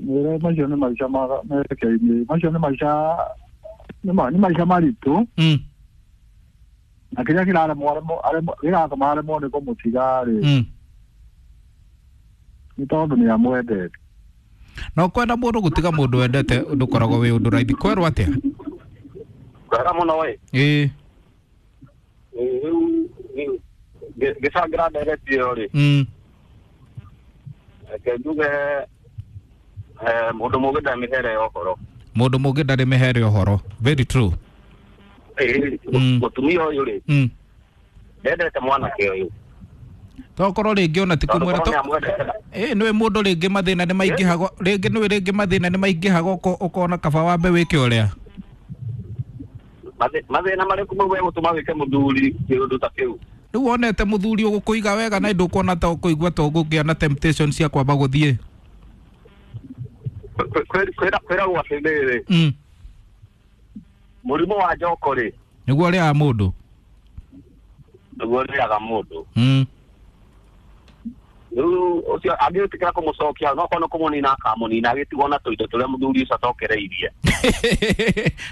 Mwĩre macio nĩ maica merekeirie, macio nĩ maica nĩ maica maritũ. Na kĩrĩa kĩraremwo gĩratũma aremwo nĩ kũmũtiga rĩ, nĩ tondũ nĩ amwendete. No kwenda mũndũ gũtiga mũndũ wendete ndũkoragwo wĩ ũndũ raithi. Kwerwo atĩa? Kwega mũno we. Ĩĩ. Rĩu ngĩcangĩra ndereti ĩyo rĩ, reke njuge mũndũ mũgĩ ndarĩ mĩhere ya ũhoro. Mũndũ mũgĩ ndarĩ mĩhere ya ũhoro. Very true. Mũtumia ũyũ rĩ, ndendete mwanake ũyũ. Tokorwo rĩngĩ ona ti kũmwĩra nĩwe mũndũ rĩngĩ mathĩna nĩ maingĩhaga, rĩngĩ nĩwe rĩngĩ mathĩna nĩ maingĩhaga ũkona kaba wambe wĩke ũrĩa. Mathĩna marĩkũ mau megũtũma wĩke mũthuri kĩũndũ ta kĩu? Rĩu wonete mũthuri ũgũkũiga wega na ndũkuona ta ũkũigua ta ũgũkĩa na temptation cia kwamba gũthiĩ. Kwĩragwo atĩrĩrĩ, mũrimũ wa njoko rĩ, nĩguo ũrĩaga mũndũ. Nĩguo ũrĩaga mũndũ. Rĩu ũcio angĩtĩkĩra kũmũcokia no korwo nĩ kũmũnina akamũnina, agĩtigwo na tũindo tũrĩa mũthuri ũcio atokereirie.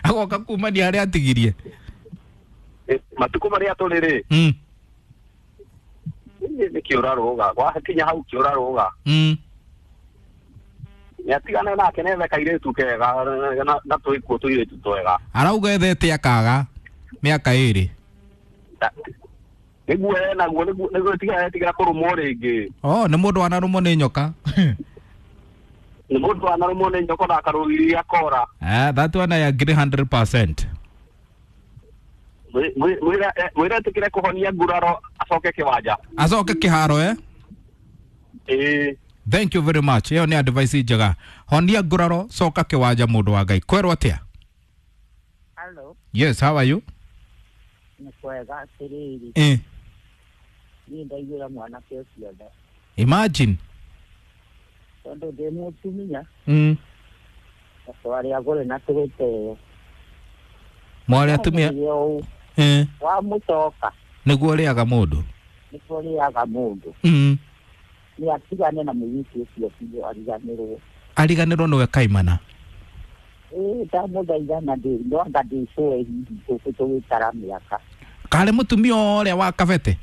Agoka kumania harĩa atigirie. Matukũ marĩa tũrĩ rĩ, nĩ kĩũrarũga, gwakinya hau kĩũrarũga. Nĩ atigane nake nethe kairĩtu kega na twĩkuo tũirĩtu twega. Arauga ethete akaga mĩaka ĩrĩ. Nĩguo enaguo, nĩguo etigĩra kũrũmwo rĩngĩ. Oh, nĩ mũndũ wanarũmwo nĩ nyoka. Nĩ mũndũ wanarũmwo nĩ nyoka na akarũgiria akora. That one I agree 100%. Mwĩre etĩkĩre kũhonia nguraro acoke kĩwanja. Acoke kĩharo eh? Ĩĩ. Thank you very much. Ĩyo nĩ advice njega. Honia nguraro, coka kĩwanja mũndũ wa Ngai. Kwerwo atĩa? Hello. Yes, how are you? Nĩ kwega atĩrĩrĩ. Niĩ ndaiguĩra mwanake ũcio tha. Imagine. Tondũ ndĩ mũtumia. Na twarĩ agũre na tũgĩteo. Mwarĩ atumia. Wamũcoka. Nĩguo ũrĩaga mũndũ. Nĩguo ũrĩaga mũndũ. Nĩ atigane na mũirĩtu ũcio biũ, ariganĩrwo. Ariganĩrwo nĩwe kaimana. Ĩĩ, ndamũthaitha na no anga ndĩcũe hihi tũgĩtara mĩaka. Karĩ mũtumia ũrĩa wa kabete?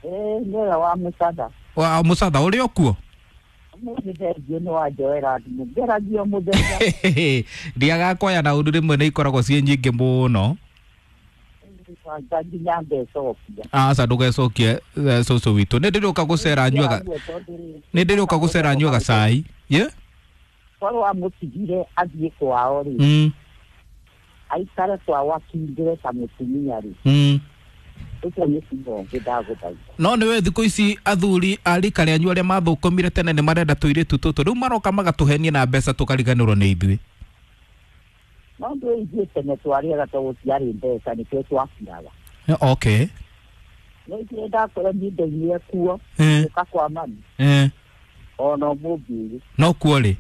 Ĩĩ, nĩ ũrĩa wa mũcatha. Wa mũcatha ũrĩa ũkuo? Ũmũthĩ thengiũ nĩ wanjoera thimũ, ngeragia mũthenya. Ndiagakoya na ũndũ rĩmwe nĩ ikoragwo ciĩ nyingĩ mũno. Nginya ngecokia. Aca ndũgecokie cũcũ witũ. Nĩ ndĩrĩũka gũcera nyuaga. Nĩ ndĩrĩũka gũcera nyuaga cai. Ye? Korwo amũtigire athiĩ kwao rĩ. Aikare kwao akindĩre ta mũtumia rĩ. Ũcio nĩ ciugo ũngĩ ndagũthaitha. No nĩwe thikũ ici athuri a rika rĩanyu arĩa mathũkũmire tene nĩ marenda tũirĩtu tũtũ. Rĩu maroka magatũhenia na mbeca tũkariganĩrwo nĩ ithuĩ. No ndũ ithuĩ tene twarĩaga tondũ gũtiarĩ mbeca nĩkĩo twakiraga. Okay. No ithuĩ ndakora niĩ ndaumire kuo, gũka kwa mami. Ona ũmũthĩ. No kuo rĩ?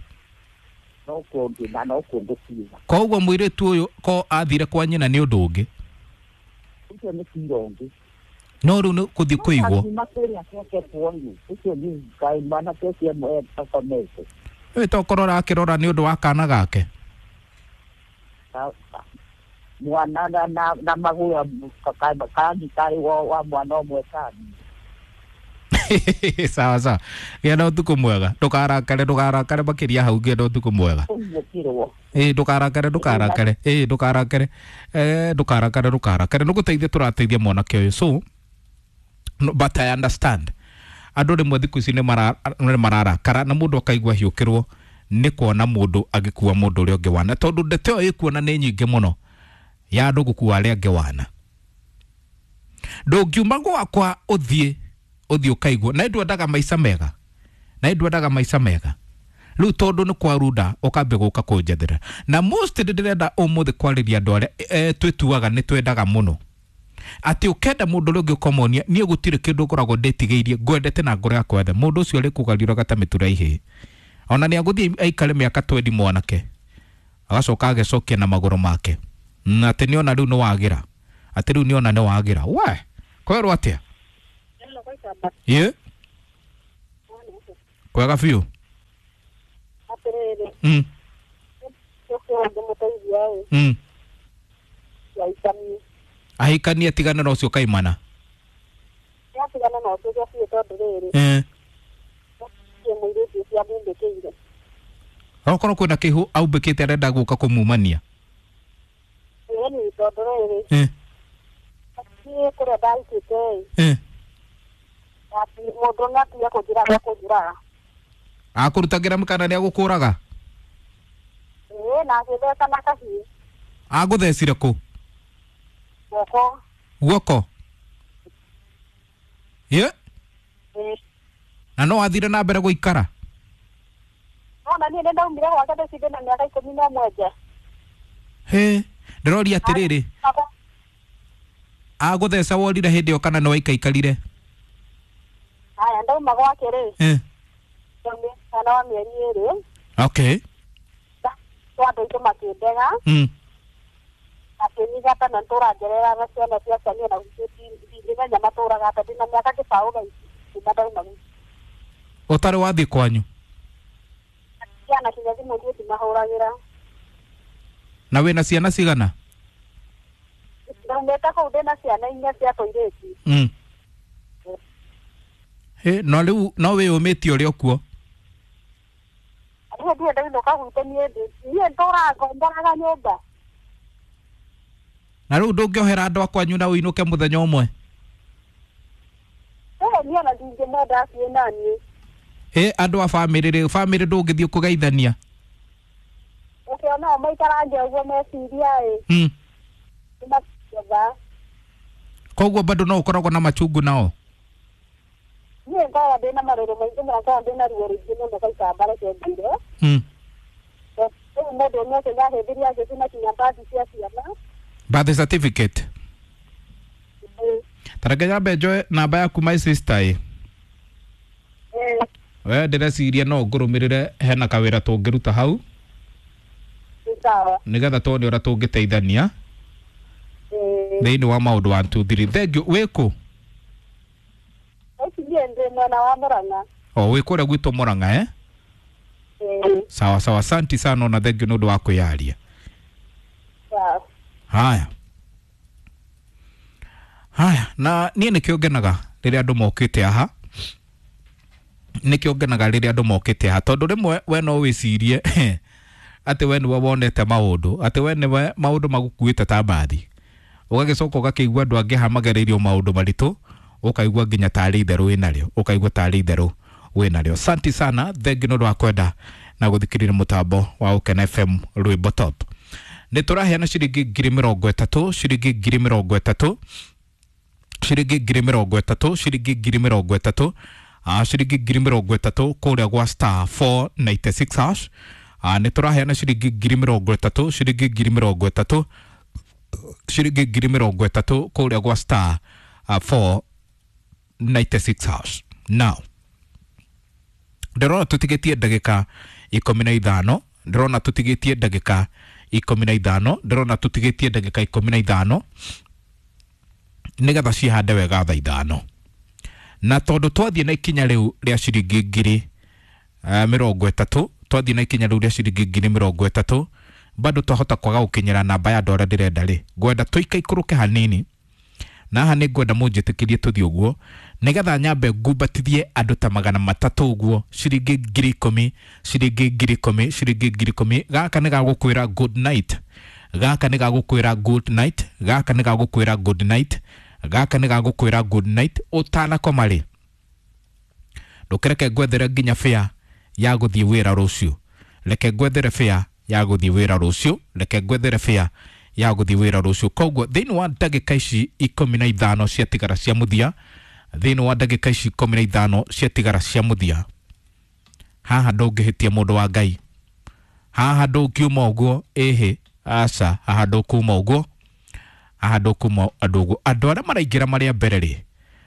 No kuo ngĩ na no kuo ngũkiuga. Koguo mũirĩtu ũyũ ko athire kwa nyina nĩ ũndũ ũngĩ? Ũcio nĩ cira ũngĩ. No rĩu nĩ kũthiĩ kũigwo. Akiuma kũrĩa acoke kuo rĩ, ũcio nĩ kaĩ mwanake ũcio akomete. Ĩ tokorwo arakĩrora nĩ ũndũ wa kana gake. Mwana na magũrũ karĩ wa mwana ũmwe kani. Sawa sawa. Gĩa na ũtukũ mwega. Ndũkarakare, ndũkarakare makĩria hau. Gĩa na ũtukũ mwega. Ĩĩ, ndũkarakare, ndũkarakare. Ĩĩ, ndũkarakare. Ndũkarakare, ndũkarakare. Nĩ gũteithia tũrateithia mwanake ũyũ. So, no, but I understand. Andũ rĩmwe thikũ ici nĩ mararakara na mũndũ akaigua hiũkĩrwo nĩ kuona mũndũ agĩkua mũndũ ũrĩa ũngĩ wana, tondũ ndeto ĩyo ĩkuona nĩ nyingĩ mũno ya andũ gũkua arĩa angĩ wana. Ndũngiuma gwakwa ũthiĩ ũkaigua na ndwendaga maica mega, na ndwendaga maica mega. Rĩu tondũ nĩ kwarunda ũkambia gũka kũnjethera. Na most ndĩrenda ũmũthĩ kwarĩria andũ arĩa twĩtuaga nĩ twendaga mũno, atĩ ũkenda mũndũ ũrĩa ũngĩ ũkamuonia niĩ gũtirĩ kĩndũ ngoragwo ndĩtigĩirie, ngwendete na ngoro yakwa yothe. Mũndũ ũcio arĩkũgariũraga ta mĩtura ihĩĩ. Ona nĩ agũthiĩ aikare mĩaka 20 mwanake, agacoka agecokia na magũrũ make, na atĩ nĩona rĩu nĩ wagĩra, atĩ rĩu nĩona nĩ wagĩra. We kwerwo atĩa? Ye? Kwega biũ. Ahikanie tigana na ũcio kaimana. Atigana na ũcio biũ tondũ rĩrĩ. Mũirĩtu ũcio amumbĩkĩire. Okorwo kwĩna kĩhu aumbĩkĩte arenda gũka kũmumania. Ĩni tondũ rĩrĩ. Niĩ kũrĩa ndaikĩte. Mũndũ nĩatiga kũnjũraga kũnjũraga. Akũrutagĩra mũkana nĩagũkũraga? Ĩĩ na agĩtheca na kahiũ. Agũthecire kũ? Guoko. Guoko? Ye? Na no athire na mbere gũikara? Ona niĩ nĩndaumire gwake ndĩcinde na mĩaka 11 nja. Hĩ, ndĩroria atĩrĩrĩ. Agũtheca worire hĩndĩ ĩyo kana nĩwaikaikarire? Haya ndauma gwake rĩ. Mwana wa mĩeri 2. Okay. Andũ aitũ makĩndega. Makĩnyigata na ntũra njereraga ciana ciakwa niĩ na ndingĩmenya matũraga atĩa ndĩna mĩaka kĩbaũ thaa ici kuma ndauma gwitũ. Ũtarĩ wathiĩ kwanyu? Ciana kinya thimũ niĩ ndimahũragĩra. Na wĩna ciana cigana? Ndaumĩte kũu ndĩna ciana 4 cia tũirĩtu. Hĩ, no rĩu no wĩyũmĩtie ũrĩ o kuo? Niĩ ndirĩ ndainũka gwitũ niĩ ndũraga ngomboraga nyũmba. Na rĩu ndũngĩohera andũ a kwanyu na ũinũke mũthenya ũmwe? Niĩ ona ndingĩmenda athiĩ naniĩ. Hĩ, andũ a bamĩrĩ rĩ, bamĩrĩ ndũngĩthiĩ kũgeithania? Ũkĩona o maikarange ũguo meciria ĩ. Nĩmakigetha. Koguo bado no ũkoragwo na machungu nao? Niĩ ngoragwo ndĩna marũrũ maingĩ mũno, ngoragwo ndĩna ruo rũingĩ mũno gaikamba reke ngwĩre. Rĩu mũndũ ũmwe ũcio nĩahĩmbĩria agĩthiĩ kinya mbathi cia ciana. Birth certificate. Tareke nyambe njoe namba yaku my sister ĩ. We ndĩreciria no ngũrũmĩrĩre hena kawĩra tũngĩruta hau. Sawa. Nĩgetha tuone ũrĩa tũngĩteithania. Thĩinĩ wa maũndũ 1 2 3. Thank you. Wĩ kũ? Niĩ ndĩ mwena wa Murang'a. O wĩ kũrĩa gwitũ Murang'a eh? Sawa sawa, asante sana na thank you nĩ ũndũ wa kwĩyaria. Sawa. Haya. Haya, na niĩ nĩkĩo ngenaga rĩrĩa andũ mokĩte haha. Nĩkĩo ngenaga rĩrĩa andũ mokĩte haha tondũ rĩmwe we no wĩcirie atĩ we nĩwe wonete maũndũ, atĩ we nĩwe maũndũ magũkuĩte ta mbathi. Ũgagĩcoka ũgakĩigua andũ angĩ haha magereirio maũndũ maritũ, ũkaigua nginya tarĩ itherũ wĩnarĩo, ũkaigua tarĩ itherũ wĩnarĩo. Asante sana, thank you nĩ ũndũ wa kwenda na gũthikĩrĩria mũtambo wa Ũkena FM Rwĩmbo Top. Nĩ tũraheana ciringi 30,000, ciringi 30,000, ciringi 30,000, ciringi 30,000, ciringi 30,000 kũrĩa gwa star 496 hash. Nĩ tũraheana ciringi 30,000, ciringi 30,000, ciringi 30,000 kũrĩa gwa star 496 hash. Now ndĩrona tũtigĩtie ndagĩka 15, ndĩrona tũtigĩtie ndagĩka 15, ndĩrona tũtigĩtie ndagĩka 15 nĩgetha cihande wega thaa 5. Na tondũ twathiĩ na ikinya rĩu rĩa ciringi 30,000, twathiĩ na ikinya rĩu rĩa ciringi 30,000, bado twahota kwaga gũkinyĩra namba ya andũ arĩa ndĩrenda rĩ, ngwenda tũikaikũrũke hanini. Na haha nĩ ngwenda mũnjĩtĩkĩrie tũthiĩ ũguo nĩgetha nyambe ngumbatithie andũ ta 300 ũguo, ciringi 10,000, ciringi 10,000, ciringi 10,000. Gaka nĩ gagũkwĩra good night, gaka nĩ gagũkwĩra good night, gaka nĩ gagũkwĩra good night, gaka nĩ gagũkwĩra good night. Ũtanakoma rĩ, ndũkĩreke ngwethere nginya fare ya gũthiĩ wĩra rũciũ. Reke ngwethere fare ya gũthiĩ wĩra rũciũ, reke ngwethere fare ya gũthiĩ wĩra rũciũ. Koguo thĩinĩ wa ndagĩka ici 15 ciatigara cia mũthia, thĩinĩ wa ndagĩka ici 15 ciatigara cia mũthia, haha ndũngĩhĩtia mũndũ wa Ngai, haha ndũngiuma ũguo, ĩhĩ aca, haha ndũkuma ũguo, haha ndũkuma andũ ũguo. Andũ arĩa maraingĩra marĩa mbere rĩ,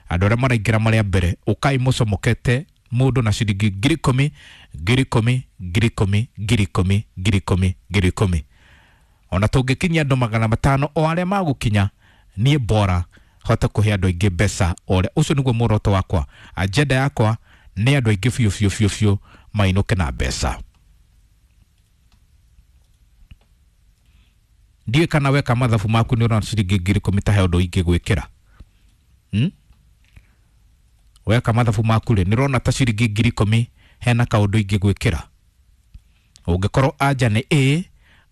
andũ arĩa maraingĩra marĩa mbere, ũkai mũcomokete mũndũ na ciringi 10,000, 10,000, 10,000, 10,000, 10,000, 10,000. Ona tũngĩkinyia andũ 500 o arĩa magũkinya, niĩ bora hote kũhe andũ aingĩ mbeca ũrĩa. Ũcio nĩguo muoroto wakwa, agenda yakwa nĩ andũ aingĩ biũ biũ biũ biũ mainũke na mbeca. Ndiũĩ kana weka mathabu maku nĩ ũrona ciringi 10,000 ta he ũndũ ingĩgwĩkĩra. Weka mathabu maku rĩ, nĩ ũrona ta ciringi 10,000 hena kaũndũ ingĩgwĩkĩra. Ũngĩkorwo anja nĩ ĩ,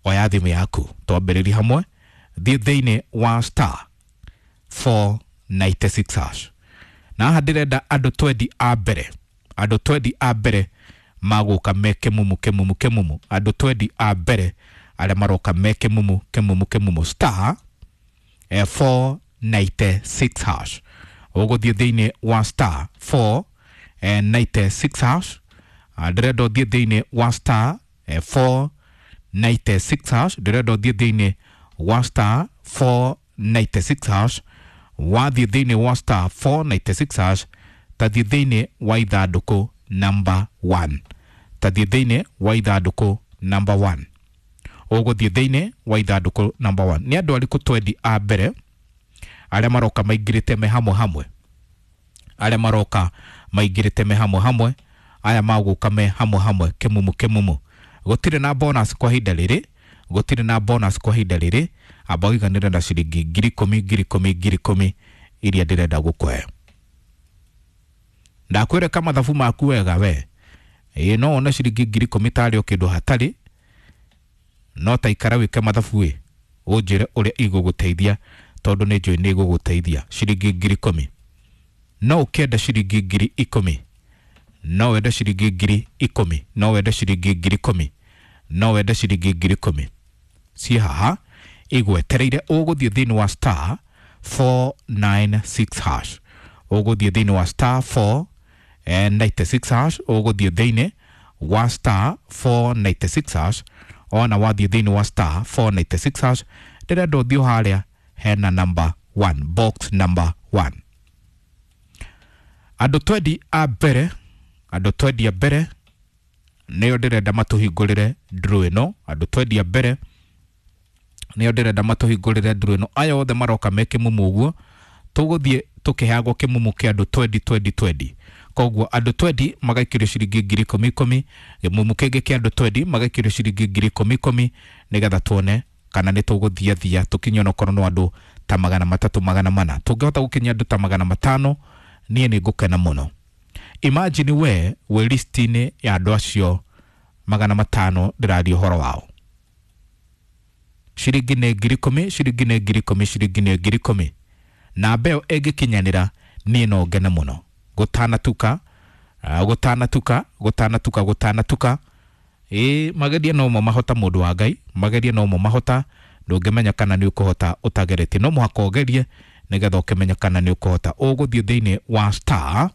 oya thimũ yaku twambĩrĩrie hamwe, thiĩ thĩinĩ wa star 496 hash. Na haha ndĩrenda andũ 20 a mbere, andũ 20 a mbere magũka me kĩmumu kĩmumu kĩmumu, andũ 20 a mbere arĩa maroka me kĩmumu kĩmumu kĩmumu, star 496 hash. Ũgũthiĩ thĩinĩ wa star 496 hash. Ndĩrenda ũthiĩ thĩinĩ wa star 496 hash, ndĩrenda ũthiĩ thĩinĩ wa star 496 hash. Wathiĩ thĩinĩ wa star 496 hash, tathiĩ thĩinĩ wa ithandũkũ number 1, tathiĩ thĩinĩ wa ithandũkũ number 1. Ũgũthiĩ thĩinĩ wa ithandũkũ number 1. Nĩ andũ arĩkũ 20 a mbere arĩa maroka maingĩrĩte me hamwe hamwe, arĩa maroka maingĩrĩte me hamwe hamwe, aya magũka me hamwe hamwe kĩmumu kĩmumu. Gũtirĩ na bonus kwa ihinda rĩrĩ, gũtirĩ na bonus kwa ihinda rĩrĩ. Amba ũiganĩre na ciringi 10,000 10,000 10,000 iria ndĩrenda gũkũhe. Ndakwĩreka mathabu maku wega we, ĩĩ no wone ciringi 10,000 tarĩ o kĩndũ hatarĩ, no ta ikara wĩke mathabu ĩ, ũnjĩre ũrĩa igũgũteithia, tondũ nĩ njũĩ nĩ igũgũteithia. Ciringi 10,000 no ũkĩenda ciringi 10,000, no wende ciringi 10,000, no wende ciringi 10,000, no wende ciringi 10,000 ciĩ haha igwetereire. Ũgũthiĩ thĩinĩ wa star 496 hash, ũgũthiĩ thĩinĩ wa star 496 hash, ũgũthiĩ thĩinĩ wa star 496 hash. Ona wathiĩ thĩinĩ wa star 496 hash, ndĩrenda ũthiĩ harĩa hena number 1, box number 1. Andũ 20 a mbere, andũ 20 a mbere nĩo ndĩrenda matũhingũrĩre draw ĩno. Andũ 20 a mbere nĩo ndĩrenda matũhingũrĩre draw ĩno. Aya othe maroka me kĩmumu ũguo, tũgũthiĩ tũkĩheagwo kĩmumu kĩa andũ 20 20 20. Koguo andũ 20 magaikĩrio ciringi 10,000 10,000, kĩmumu kĩngĩ kĩa andũ 20 magaikĩrio ciringi 10,000 10,000, nĩgetha tuone kana nĩ tũgũthia thia tũkinye onokorwo no andũ ta 300 400. Tũngĩhota gũkinyia andũ ta 500 niĩ nĩ ngũkena mũno. Imagine we wĩ list-inĩ ya andũ acio 500 ndĩraria ũhoro wao. Ciringi nĩ 10,000, ciringi nĩ 10,000, ciringi nĩ 10,000. Namba ĩyo ĩngĩkinyanĩra niĩ no ngene mũno. Gũtanatuka, gũtanatuka, gũtanatuka, gũtanatuka. Ĩĩ mageria no mo mahota, mũndũ wa Ngai, mageria no mo mahota. Ndũngĩmenya kana nĩ ũkũhota ũtageretie, no mũhaka ũgerie nĩgetha ũkĩmenya kana nĩ ũkũhota. Ũgũthiĩ thĩinĩ wa star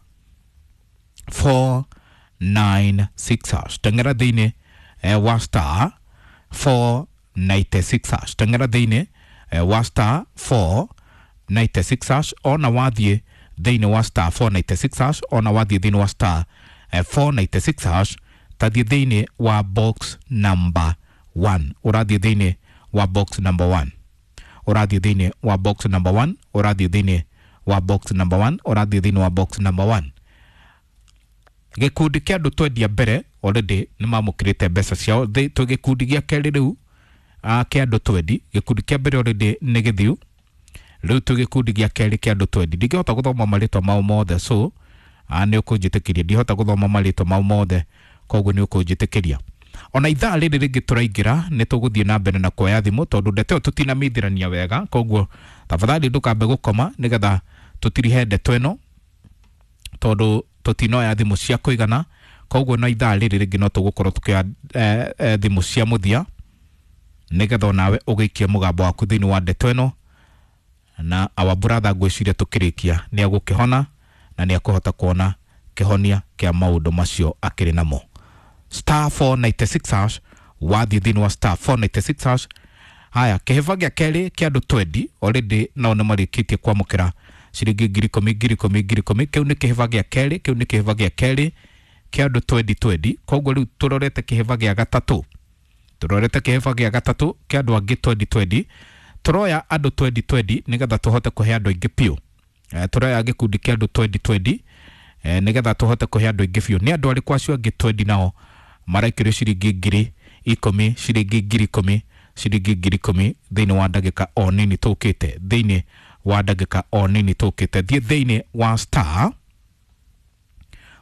496 hash, teng'era thĩinĩ wa star 496 hash, teng'era thĩinĩ wa star 496 hash. Ona wathiĩ thĩinĩ wa star 496 hash, ona wathiĩ thĩinĩ wa star 496 hash, tathiĩ thĩinĩ wa box number 1. Ũrathiĩ thĩinĩ wa box number 1, ũrathiĩ thĩinĩ wa box number 1, ũrathiĩ thĩinĩ wa box number 1, ũrathiĩ thĩinĩ wa box number 1. Gĩkundi kĩa andũ 20 a mbere already nĩ mamũkĩrĩte mbeca ciao. Twĩ gĩkundi gĩa kerĩ rĩu kĩa andũ 20. Gĩkundi kĩa mbere already nĩ gĩthiu, rĩu twĩ gĩkundi gĩa kerĩ kĩa andũ 20. Ndingĩhota gũthoma marĩtwa mao mothe, so nĩ ũkũnjĩtĩkĩria, ndihota gũthoma marĩtwa mao mothe, koguo nĩ ũkũnjĩtĩkĩria. Ona ithaa rĩrĩ rĩngĩ tũraingĩra nĩ tũgũthiĩ na mbere na kuoya thimũ, tondũ ndeto ĩyo tũtinamithirania wega. Koguo tafadhali ndũkambe gũkoma nĩgetha tũtirihe ndeto ĩno, tondũ tũtinoya thimũ cia kũigana. Koguo na ithaa rĩrĩ rĩngĩ no tũgũkorwo tũkĩoya thimũ cia mũthia, nĩgetha onawe ũgĩikie mũgambo waku thĩinĩ wa ndeto ĩno. Na our brother ngwĩciria tũkĩrĩkia nĩ agũkĩhona na nĩ akũhota kuona kĩhonia kĩa maũndũ macio akĩrĩ namo. Star 496 hash, wathiĩ thĩinĩ wa star 496 hash. Haya, kĩhĩba gĩa kerĩ kĩa andũ 20 already nao nĩ marĩkĩtie kwamũkĩra ciringi 10,000 10,000 10,000. Kĩu nĩ kĩhĩba gĩa kerĩ, kĩu nĩ kĩhĩba gĩa kerĩ kĩa andũ 20 20. Koguo rĩu tũrorete kĩhĩba gĩa gatatũ, tũrorete kĩhĩba gĩa gatatũ kĩa andũ angĩ 20 20. Tũroya andũ 20 20 nĩgetha tũhote kũhe andũ aingĩ biũ. Tũroya gĩkundi kĩa andũ 20 20 nĩgetha tũhote kũhe andũ aingĩ biũ. Nĩ andũ arĩkũ acio angĩ 20 nao maraikĩrio ciringi 10,000, ciringi 10,000? ciringi 10,000 thĩinĩ wa ndagĩka o nini tũkĩte, thĩinĩ wa ndagĩka o nini tũkĩte. Thiĩ thĩinĩ wa star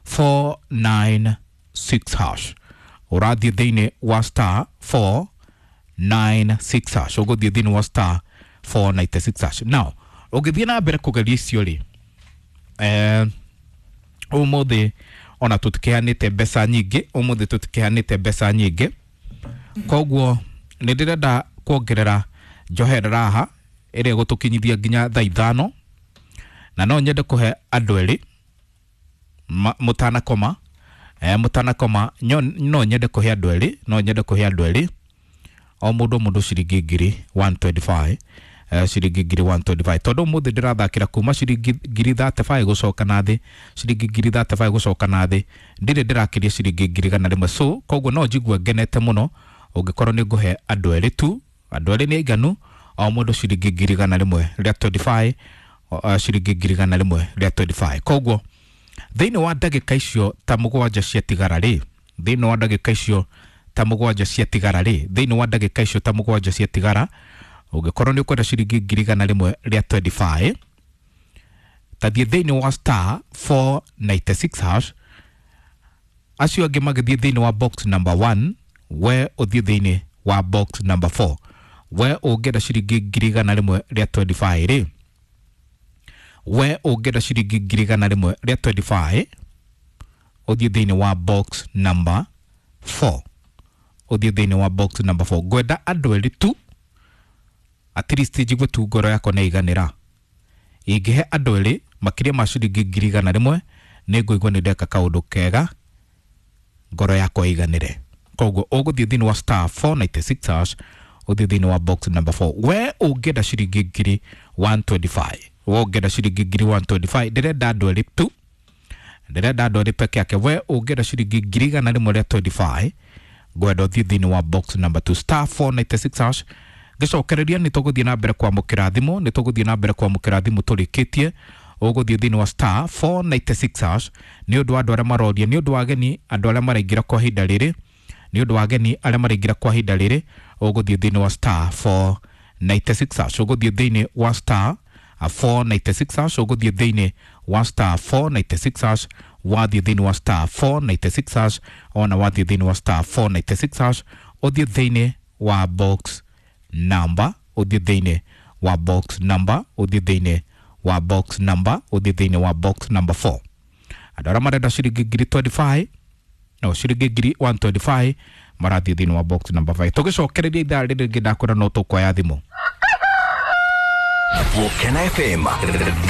496 hash, ũrathiĩ thĩinĩ wa star 496 hash, ũgũthiĩ thĩinĩ wa star 496 hash. Now ũngĩthiĩ na mbere kũgeria icio rĩ, ũmũthĩ ona tũtikĩhanĩte mbeca nyingĩ, ũmũthĩ tũtikĩhanĩte mbeca nyingĩ, koguo nĩ ndĩrenda kuongerera njoherera haha ĩrĩa ĩgũtũkinyithia nginya thaa 5, na no nyende kũhe andũ erĩ mũtanakoma, mũtanakoma no nyende kũhe andũ erĩ, no nyende kũhe andũ erĩ o mũndũ ciringi 125, ciringi 125, tondũ ũmũthĩ ndĩrathakĩra kuma ciringi 35 gũcoka na thĩ, ciringi 35 gũcoka na thĩ, ndirĩ ndĩrakĩria ciringi 100,000. So koguo no njigue ngenete mũno ũngĩkorwo nĩ ngũhe andũ erĩ tu, andũ erĩ nĩ aiganu, o mũndũ ciringi 125, ciringi 125. Koguo thĩinĩ wa ndagĩka icio ta 7 ciatigara rĩ, thĩinĩ wa ndagĩka icio ta 7 ciatigara rĩ, thĩinĩ wa ndagĩka icio ta 7 ciatigara, ũngĩkorwo nĩ ũkwenda ciringi 125, tathiĩ thĩinĩ wa star 496 hash, acio angĩ magĩthiĩ thĩinĩ wa box number 1, we ũthiĩ thĩinĩ wa box number 4. We ũngĩenda ciringi 125 rĩ, we ũngĩenda ciringi 125, ũthiĩ thĩinĩ wa box number 4, ũthiĩ thĩinĩ wa box number 4. Ngwenda andũ erĩ tu, at least njigue tu ngoro yakwa nĩ iganĩra. Ingĩhe andũ erĩ makĩria ma ciringi 100,000, nĩ ngũigua nĩ ndeka kaũndũ kega, ngoro yakwa iganĩre. Koguo ũgũthiĩ thĩinĩ wa star 496 hash, ũthiĩ thĩinĩ wa box number 4. We ũngĩenda ciringi 125, we ũngĩenda ciringi 125, ndĩrenda andũ erĩ tu, ndĩrenda andũ erĩ peke yake. We ũngĩenda ciringi 125, ngwenda ũthiĩ thĩinĩ wa box number 2, star 496 hash. Ngĩcokereria nĩ tũgũthiĩ na mbere kwamũkĩra thimũ, nĩ tũgũthiĩ na mbere kwamũkĩra thimũ tũrĩkĩtie. Ũgũthiĩ thĩinĩ wa star 496 hash nĩ ũndũ wa andũ arĩa maroria, nĩ ũndũ wa ageni andũ arĩa maraingĩra kwa ihinda rĩrĩ, nĩ ũndũ wa ageni arĩa maraingĩra kwa ihinda rĩrĩ, ũgũthiĩ thĩinĩ wa star 496 hash, ũgũthiĩ thĩinĩ wa star 496 hash, ũgũthiĩ thĩinĩ wa star 496 hash, wathiĩ thĩinĩ wa star 496 hash, ona wathiĩ thĩinĩ wa star 496 hash, ũthiĩ thĩinĩ wa box number, ũthiĩ thĩinĩ wa box number, ũthiĩ thĩinĩ wa box number, ũthiĩ thĩinĩ wa box number 4. Andũ arĩa marenda ciringi 25, no ciringi 125, marathiĩ thĩinĩ wa box number 5. Tũgĩcokereria ithaa rĩrĩ rĩngĩ ndakwĩra no tũkuoya thimũ. Volcano FM.